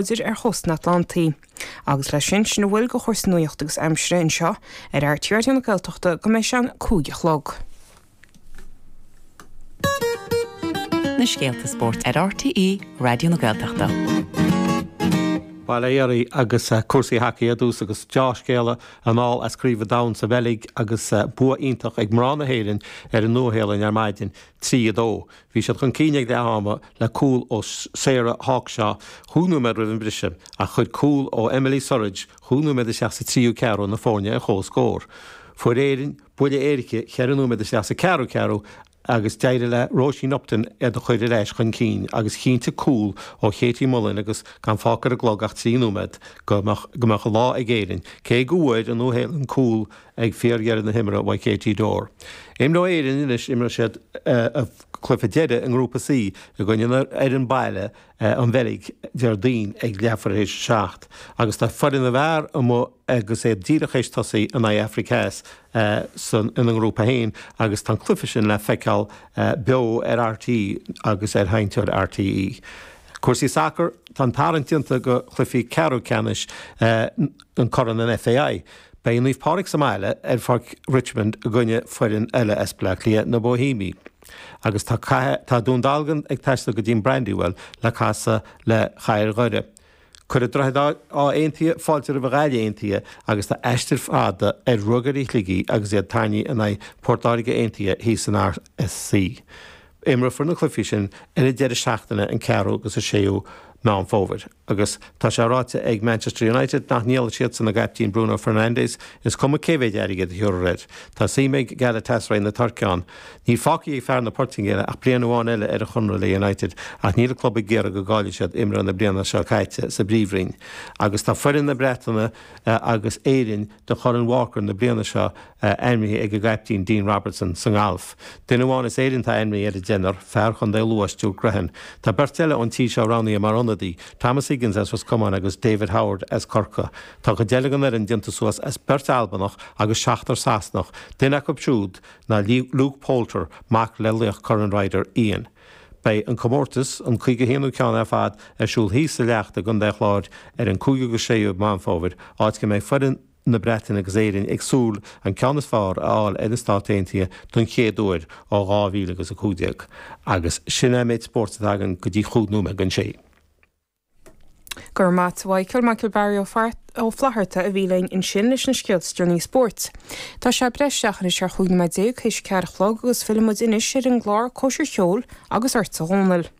Láidir ar chósta an Atlantaigh. Agus leis sin, sin a bhfuil de chúrsaí nuachta agus aimsire anseo ar RTÉ Raidió na Gaeltachta go mbeidh sé an 5 a chlog. Na scéalta spóirt ar RTÉ Raidió na Gaeltachta. Bail ó Dhia oraibh agus cúrsaí hacaí ar dtús agus deá-scéala anall as Craobh an Domhain sa Bheilg agus bua iontach ag mná na hÉireann ar an Nua-Shéalainn ar maidin, 3, 2. Bhí siad chun cinn ag leath ama le cúl ó Sarah Hawkshaw chúig nóiméad roimh an briseadh ach chuir cúl ó Emily Surridge chúig nóiméad isteach sa tríú ceathrú na foirne ar comhscór. Fuair Éirinn buille éirice cheithre nóiméad isteach sa ceathrú ceathrú agus d'éirigh le Róisín Upton iad a chur ar ais chun cinn agus chinntigh cúl ó Katie Mullan agus gan fágtha ar an gclog ach 3 nóiméad go mbeadh an lá ag Éirinn cé go bhfuair an Nua-Shéalainn cúl ag fíordheireadh na himeartha uaidh Katie Dorr. Imreoidh Éirinn anois, imreoidh siad a gcluiche deiridh i nGrúpa C i gcoinne an fhoireann baile, an Bheilg, Déardaoin ag leathuair théis a 7. Agus tá foireann na bhfear amuigh agus iad díreach théis tosaí in aghaidh Afraic Theas san ina ngrúpa féin agus tá an cluiche sin le feiceáil beo ar RTÉ agus ar sheinnteoir RTÉ. Cúrsaí sacair, tá an tarraingt déanta do chluichí ceathrú ceannais an Corn an FAI. Beidh Naomh Pádraig sa mbaile ar Pháirc Richmond i gcoinne foireann eile as Baile Átha Cliath, na Boihéamaigh. Agus tá tá Dún Dealgan ag taisteal go dtí an Brandywell le casadh le Cathair Dhoire. Cuirfidh Droichead Átha Aontaithe fáilte roimh Ghaillimh Aontaithe agus tá aistear fada ar Ruagairí Shligigh agus iad tarraingthe in aghaidh Port Láirge Aontaithe thíos san RSC. Imreofar na cluichí sin ar an deireadh seachtaine an 4ú agus an 6ú Meán Fómhair agus tá sé ráite ag Manchester United nach ndíolfaidh siadsan a gcaiptín Bruno Fernandes, is cuma cé mhéid airgid a thiúrfar air. Tá suim ag Galatasaray na Tuirce ann. Níl fágtha ag fear na Portaingéile ach bliain amháin eile ar a chonradh le United ach níl an club ag iarraidh go gcaillfidh siad imreoir na bliana seo caite sa bPríomhroinn. Agus tá foireann na Breataine agus Éirinn do Chorn Walker na bliana seo ainmnithe ag a gcaiptín Dean Robertson sa ngalf. Duine amháin as Éirinn atá ainmnithe ar an deichniúr, fear Chontae Lú, Stuart Grehan. Tá beirt eile ón tír seo roghnaithe mar ionadaí, Thomas Higgins as Ros Comáin agus David Howard as Corcaigh. Tá cuid eile den fhoireann déanta suas as beirt Albanach agus seachtar Sasanach, duine acu siúd ná Luke Poulter, mac le laoch Corn Ryder, Ian. Beidh an comórtas, an 51ú ceann ar fad, ar siúl thíos sa Leacht i gContae an Chláir ar an 5ú agus 6ú Meán Fómhair, áit go mbeidh foireann na Breataine agus Éirinn ag súil an ceann is fearr a fháil ar na Stáit Aontaithe don chéad uair ó 2015. Agus sin é an méid spóirt atá againn go dtí chúig nóiméad don sé. Go raibh maith a't a Mhichael, Michael Barry Ó Flatharta a bhí linn ansin leis na scéalta is deireanaí spóirt. Tá sé breis isteach anois ar chúig nóiméad théis a ceathair a chlog agus fillfidh muid anois ar an gclár Cóisir Cheoil agus ort a Dhónaill.